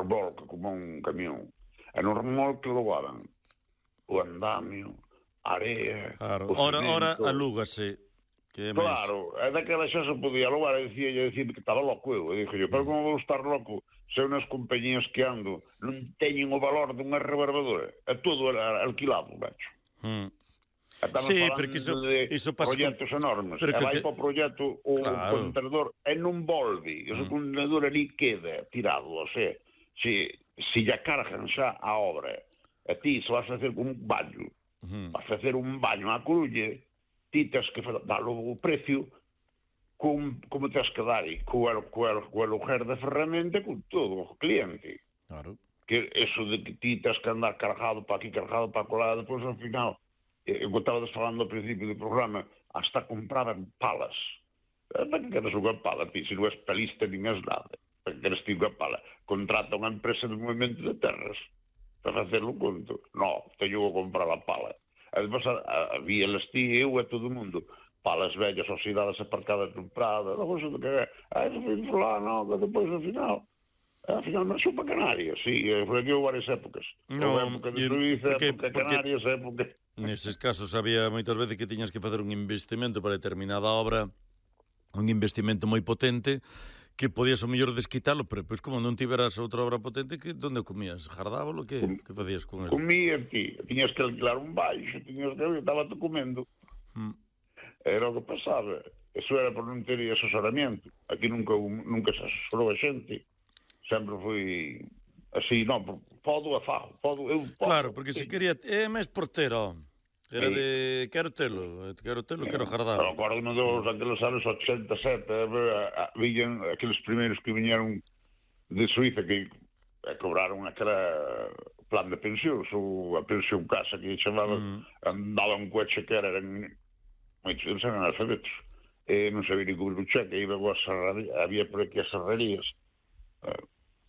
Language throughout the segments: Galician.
remolque como un camión. E no remolque levaban o andamio, a area, Claro. o Ora cemento. alúgase, que é máis. Claro, e daquela xa se podía levar, e dicir que estaba loco eu. E dixo yo, pero como vou estar loco se eu nas compañías que ando non teñen o valor dunha rebarbadora? É todo alquilado, macho. Estamos Sí, falando porque de pasa proxectos enormes. pero E vai para o proxecto o claro. contenedor e non volve. Ese contenedor ali queda tirado. O sea, se lle cargan xa a obra, e ti se vas a facer un baño, vas a facer un baño á Coruña, ti tens que dar o precio como tens que dar e co aluguer da ferramenta con todo o cliente. Claro. Que eso de que ti tens que andar cargado para aquí, cargado para colar, depois ao final, eu estaba falando ao principio do programa, hasta compraban palas. Para que queres unha pala, ti? Se non és palista nin és nada. Para que queres ti unha pala? Contrata unha empresa de movimento de terras para facer o conto. No, teño que comprar a pala. E depois había las ti, eu e todo o mundo, palas vellas oxidadas aparcadas no Prado, logo se que eso foi falar, no, que depois ao final marchou para Canarias, sí, foi aquí varias épocas. No, época de Suíza, porque época de Canarias, época... Neses casos había moitas veces que tiñas que facer un investimento para determinada obra, un investimento moi potente, que podías o mellor desquitalo, pero pois como non tiveras outra obra potente, que onde comías? Jardábalo? Que facías con ele? Comía ti, tiñas que alquilar un baixo, tiñas que estaba te comendo. Era o que pasaba. Eso era por non ter asesoramento. Aquí nunca se asesorou a xente. Sempre foi así, non, podo a fago, podo. Claro, porque se quería, é máis portero. Era de quero telo, quero jardar. Acordo daqueles anos 87, viñan aqueles primeiros que viñeron de Suíza que cobraron aquela plan de pensións ou a pensión casa que chamaban, andaban un coche que eran moitos deles eran analfabetos, non sabía ni cubrir o cheque, iba a serraría, había por aquí as serrarías,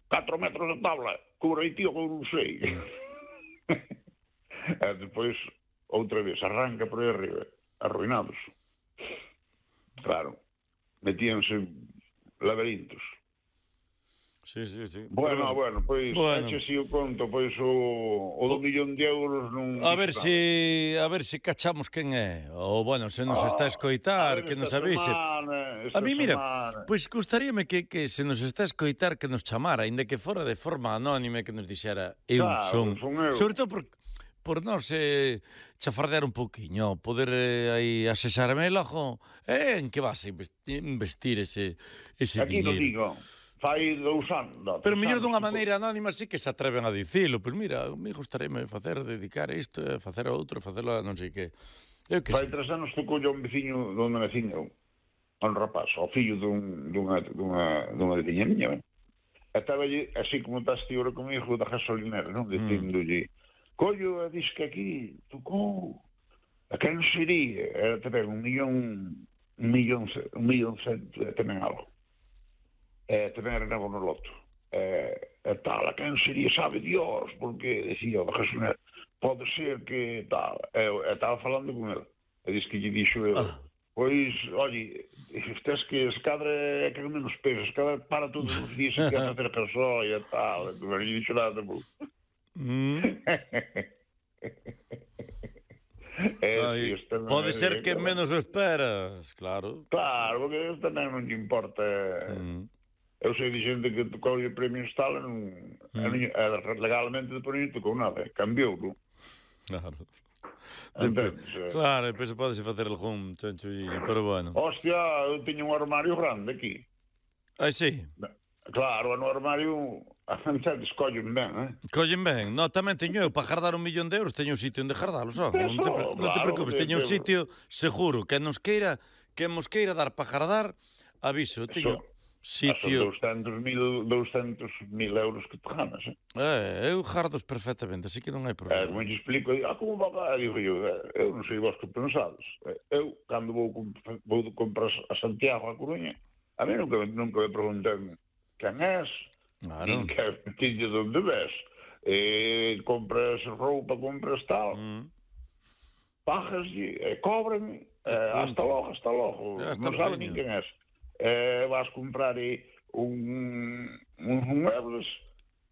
4 metros de tabla, cubre aí tío, non sei. E depois outra vez, arranca por aí arriba, arruinados. Claro, metíanse laberintos. Sí. Bueno, pois, eche así o conto, pois o do millón de euros non... A ver se cachamos quen é, ou, bueno, se nos está a escoitar, que nos avise. A mí, mira, pois gustaríame que se nos está a escoitar que nos chamara, ainda que fora de forma anónima, que nos dixera eu son. Sobre todo por nós chafardear un pouquiño, poder aí asesarme logo, en que vas a investir ese dinheiro. Aquí non digo, fai 2 anos. Pero mellor dunha maneira anónima sí que se atreven a dicilo, pois mira, me gustaríame dedicar isto, facer a outro, facelo a non sei que. Fai 3 anos tocou un veciño donde nacín eu, un rapaz, o fillo dunha veciña miña, estaba allí, así como estás ti ora comigo, da gasolinera, non? Dicindolle, collo, dis que aquí tocou, a quen sería? Era tamén un millón cento, tamén algo. Tamén era novo no loto. Tal, a quen sería, sabe Dios, porque, decía, da gasolinera, pode ser que tal. Estaba falando con ele. E diz que lle dixo ele, pois, oye, estes que se cadra é que menos peso, se cadra para todos os días e que a facer gasoia e tal. Non lle dixo nada tamén. Pode ser que menos o esperas, claro. Claro, porque eso tamén non lle importa. Eu sei de xente que tocou o premio Stalin legalmente depois non tocou nada, cambiou, non? Claro. Claro, depois podese facer algún chanchulliño, pero bueno. Hostia, eu teño un armario grande aquí. Sí? Claro, no armario a xente escollen ben, Collen ben. No, tamén teño eu, para jardar 1 millón de euros, teño un sitio onde jardalos, non te preocupes, teño un sitio seguro, que nos queira dar para jardar, aviso, teño sitio... Son 200.000 euros que te ganas, eu jardos perfectamente, así que non hai problema. Como te explico, como va? Digo eu non sei vos que pensades. Eu, cando vou comprar a Santiago, a Coruña, a mí nunca me preguntan quen és, nin que de onde ves. Compras roupa, compras tal, pagas e cobran, hasta logo, non sabe nin quen és. Vas comprar uns muebles,